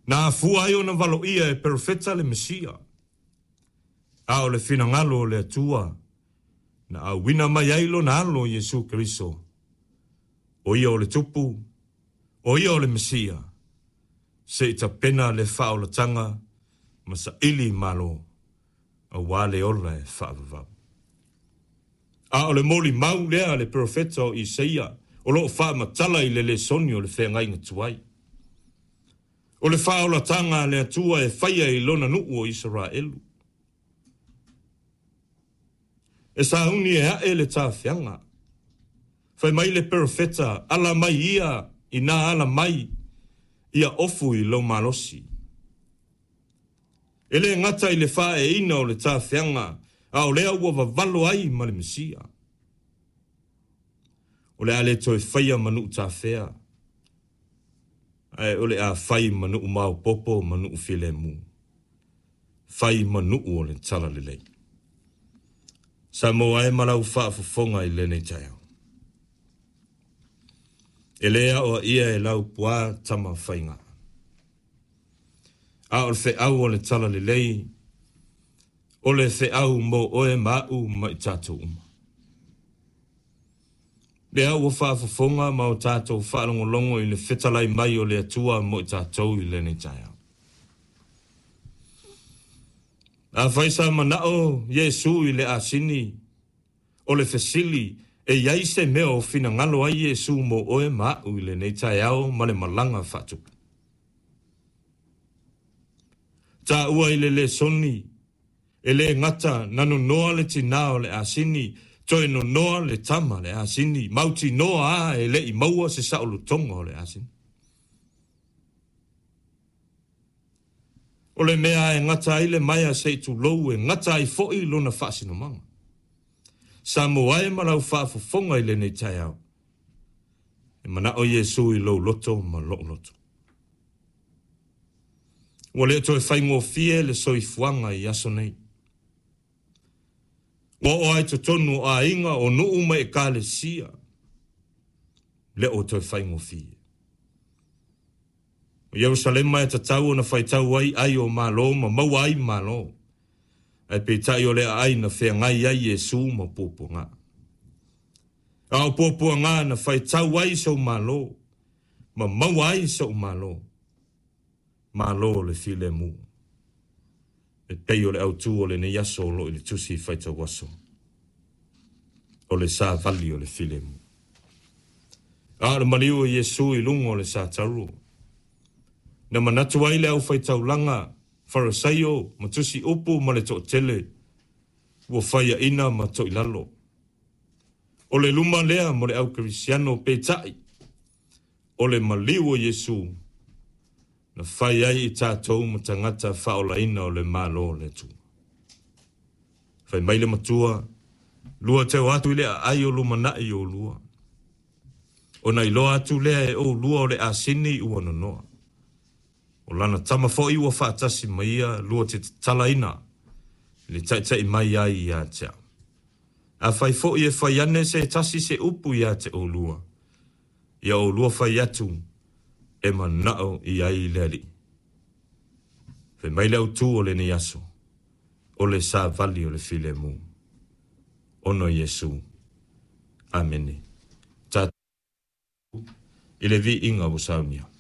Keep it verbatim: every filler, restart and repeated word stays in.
Na afua ai ona valoia e perofeta le Mesia. A o le finagalo o le Atua na auina mai ai lona alo Iesu Keriso. O ia o le tupu, o ia o le Mesia. Se i tapena le faaolataga ma saili malo, auā le ola e faavavau. A o le molimau lea a le perofeta o Isaia o loo faamatala i le lesoni o le feagaiga tuai. O le faaolataga a le Atua e faia i lona nuu o Isaraelu. E sauni e ae le tafeaga. Fai mai le perofeta, ala mai ia ina ala mai ia ofu i lou malosi. E le gata i le faaeina o le tafeaga, a o lea ua vavalo ai ma le Mesia. O le a le toe faia ma nuu tafea, ae o le a fai ma nuu maopoopo ma nuu filemu. Fai ma nuu o le talalelei. Samoa e ma lau faafofoga i lenei taeao. E le aoaia e lau puā tama faiga. A o le feau o le talalelei, o le feau mo oe ma a'u ma i tatou uma. Lea ua faafofoga ma o tatou faalogologo i le fetalai mai o le Atua mo i tatou i lenei taeao. Afai sa manao Iesu i le asini, o le fesili e iai se mea o finagalo ai Iesu mo oe ma a'u i lenei taeao ma le malaga faatupu. Taua i le lesoni, e le gata na nonoa le tinā o le asini, toe nonoa le tama le asini, mautinoa a e le'i maua se saolotoga o le asini. O le mea e gata ai le maea se i tulou e gata ai fo'i lona faasinomaga. Samoa e ma lau faafofoga i lenei taeao. E manao Iesu i lou loto ma lo'u loto. Ua le toe faigofie le soifuaga i aso nei. Ua oo ai totonu o aiga o nuu ma ekalesia. Le o toe faigofie. O Ierusalema e tatau ona faitau ai ai o malo ma maua ai malo. Ae peitai o le aai na feagai ai Iesu ma puapuaga. A o puapuaga na faitau ai sou malo ma maua ai sou malo. Malo o le filemu. E pei o le autū o lenei aso o loo i le tusi faitau aso. O le savali o le filemu. A o le maliu o Iesu i luga o le satauro. Na manatu ai le aufaitaulaga, Farisaio ma tusi upu ma le toatele, ua faiaina ma toilalo. O le luma lea mo le au kerisiano peitai, o le maliu o Iesu, na fai ai i tatou ma tagata faaolaina o le Malo o le Atua. Fai mai le matua, lua te o atu i le aai o lumanai o lua. Ona iloa atu lea e oulua o le asini ua nonoa. O lana tama fo'i ua faatasi ma ia lua te tatalaina i le taitai mai ai ia te au. Afai fo'i e fai ane se tasi se upu ia te oulua, ia oulua fai atu e manao i ai le Alii. Fai mai le autū o lenei aso, o le savali o le filemu. Ona o Iesu. Amene. Tatou i le viiga ua saunia.